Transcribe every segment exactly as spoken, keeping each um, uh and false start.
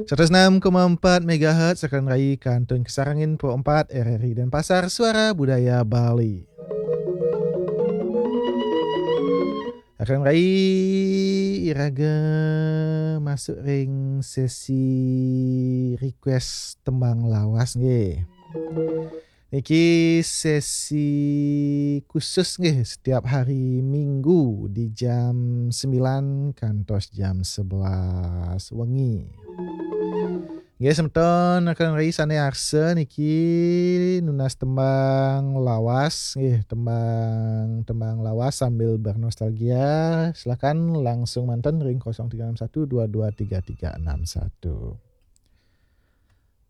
Seratus enam koma empat megahertz, Rakan Rai, Kantun Kasarangin, Pro empat, R R I Denpasar, Suara Budaya Bali. Rakan Rai, iraga masuk ring sesi request tembang lawas nggih. Niki sesi khusus nggih, setiap hari Minggu di jam sembilan kantos jam sebelas wengi. Nggih, semeton Rakan Rai sane arsa niki nunas tembang lawas nggih, tembang, tembang lawas sambil bernostalgia, silakan langsung manten ring kosong tiga enam satu dua dua tiga tiga enam satu.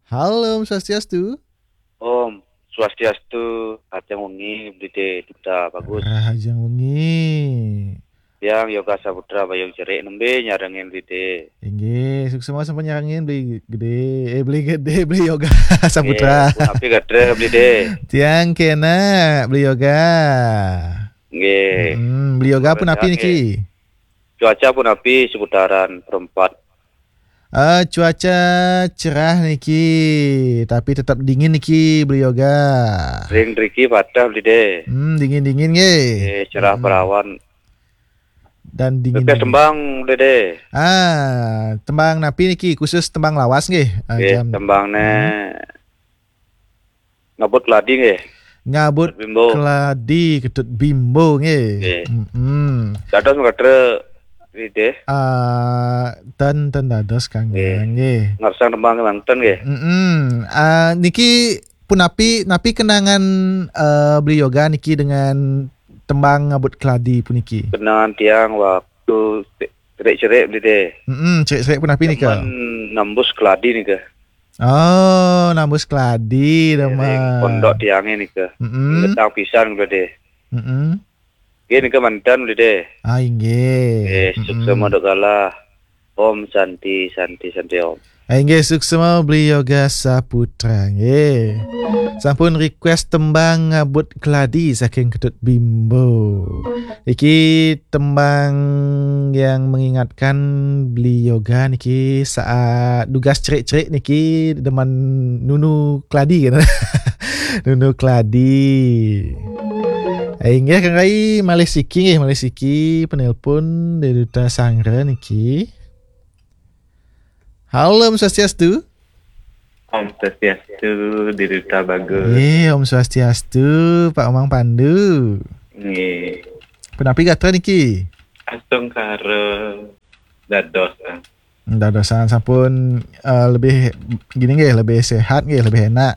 Halo, Om Swastiastu. Om Swastiastu, rahajeng wengi, Bli Dé, Duta Bagus. Rahajeng wengi. Tiang Yoga Saputra Bayung Cerik, nembe nyarengin Bli Dé. Inggih, suksma sampun nyarengin Bli Gedé, eh, Bli Gedé, Bli Yoga Saputra. Nggih, punapi gatra, Bli Dé? Tiang kenak, Bli Yoga. Nggih. Mm, Bli Yoga punapi niki? Cuaca punapi seputaran Perempat? Eh, cuaca cerah niki, tapi tetap dingin niki, Bli Yoga. Ring driki patah, Bli Dé. Hmm, dingin-dingin nggih. Eh, cerah, hmm, perawan. Dan dingin. Request tembang, Bli Dé. Ah, tembang napi niki? Khusus tembang lawas nggih. Ah, nggih, jam, tembangne, hmm. Ngabut Keladi nggih. Ngabut Bimbo. Keladi, Ketut Bimbo nggih. Nggih. Mm-mm. Dados mengkatra Bli Dé? Ah, ten, ten dados Kang, nggih, nggih. Ngersang tembang manten nggih. Mm-mm. Ah, niki punapi, napi kenangan, eh, Bli Yoga niki dengan tembang Ngabut Keladi puniki? Kenangan tiang waktu cerik-cerik, Bli Dé. Mm-mm, cerik-cerik punapi nika? Demen nembus keladi nika. Oh, nambus keladi. Ring demen pondok tiange nika. Mm-mm. Ingetang pisan kula, Dé. Mm-mm. Nggih, nika manten, Bli Dé. Ah, inggih. Nggih, mm-mm, suksma duk galah. Om Santi, Santi, Santi Om. Ah, inggih, suksma Bli Yoga Saputra, nggih. Sampun request tembang Ngabut Keladi saking Ketut Bimbo. Iki tembang yang mengingatkan Beli Yoga niki saat dugas cerik-cerik niki demen nunu keladi kan. Nunu keladi. Eh, inggih Kang Rai, malih siki nggih, malih siki penelpon dari Duta Sanggra niki. Halo, Om Swastiastu. Om Swastiastu, Dé Duta Bagus. Nggih, Om Swastiastu, Pak Komang Pandu. Nggih. Punapi gatra niki? Astungkara dados, ah. Dadosan sampun, eh, lebih gini nggih, lebih sehat nggih, lebih enak.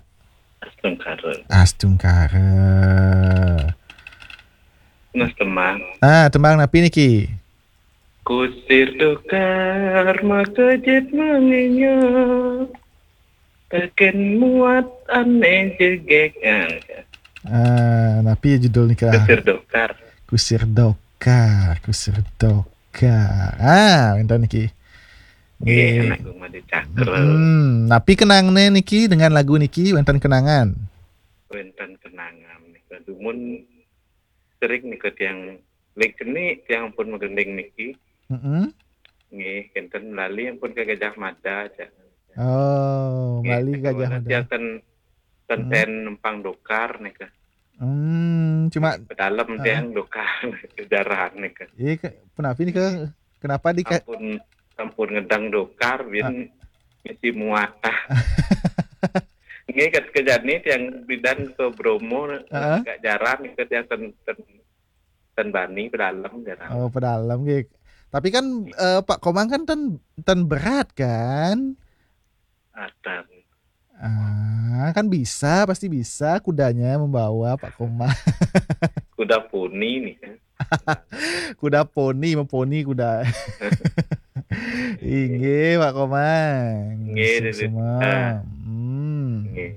Astungkara. Astungkara. Nah, tembang. Ah, tembang napi niki? Kusir Dokar makejit menginya. Teken muat ane jegek. Ah, napi judul nika? Kusir Dokar. Kusir Dokar, Kusir Dokar. Ah, wenten niki. Nggih, nggih. Anak Gumadi Cakra. Hmm, napi kenangne niki dengan lagu niki, wenten kenangan? Wenten kenangan nika. Dumun sering nika tiang ling keni tiang pun magending niki. Mm-mm. Nggih, kenten lali ampun ka Gajah Mada, cak. Oh, nggih, lali Gajah Mada. Tiang ten, ten, mm-mm, ten numpang dokar nika. Hmm, cuma, pedalem, heeh, tiang dokar, jaran nika. Iya, ke-, punapi nika? Kenapa di ka- Ampun, ampun ngedang dokar, bin, ah, misi muat. Nggih, kat kejani tiang bidan ke Bromo, heeh, agak jaran nika tiang ten, ten Ten bani pedalem, jarang. Oh, pedalem nggih. Tapi kan, eh, Pak Komang kan ten, ten berat kan? Atan. Ah, kan bisa, pasti bisa kudanya membawa Pak Komang. Kuda poni nih kan. Kuda poni, memponi kuda. Inggih, Pak Komang. Nggih, suksma. Nggih. Hmm. Nggih.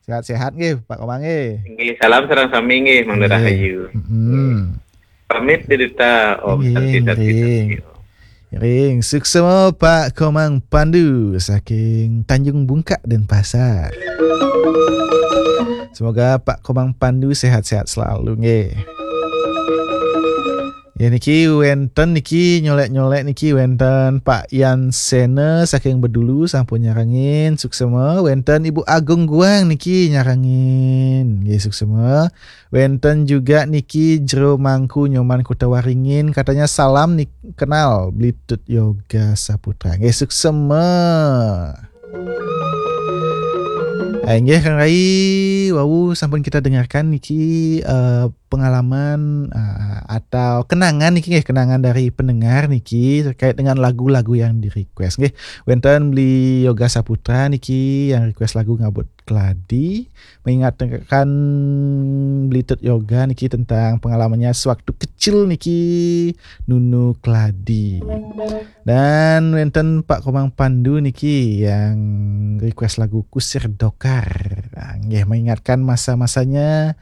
Sehat-sehat nggih, Pak Komang nggih. Nggih, salam sareng sami nggih, Mang Rahayu. Mm-mm. Pamit Dé Duta, Om. Nggih, Santi, Santi, nggih. Santi, Om. Nggih, suksma Pak Komang Pandu saking Tanjung Bungkak, Denpasar. Semoga Pak Komang Pandu sehat-sehat selalu nggih. Ya niki wénten niki nyolek-nyolek niki wénten Pak Yan Sena saking Bedulu sampun nyarengin, suksema. Wénten Ibu Agung Guang niki nyarengin, nggih suksema. Wénten juga niki Jero Mangku Nyoman Kota Waringin, katanya salam nih kenal Blitut Yoga Saputra. Nggih suksema. Eh, nggih Kang Rai, wau sampun kita dengarkan niki eh, pengalaman eh, atau kenangan niki nggih, kenangan dari pendengar niki terkait dengan lagu-lagu yang di-request nggih. Wénten Beli Yoga Saputra niki yang request lagu Ngabut Keladi, mengingatkan Blitut Yoga niki tentang pengalamannya sewaktu kecil niki nunu keladi. Dan wénten Pak Komang Pandu niki yang request lagu Kusir Dokar. Nah, nggih mengingatkan masa-masanya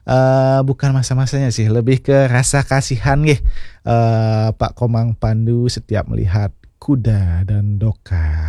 eh bukan masa-masanya sih, lebih ke rasa kasihan nggih. Eh Pak Komang Pandu setiap melihat kuda dan dokar.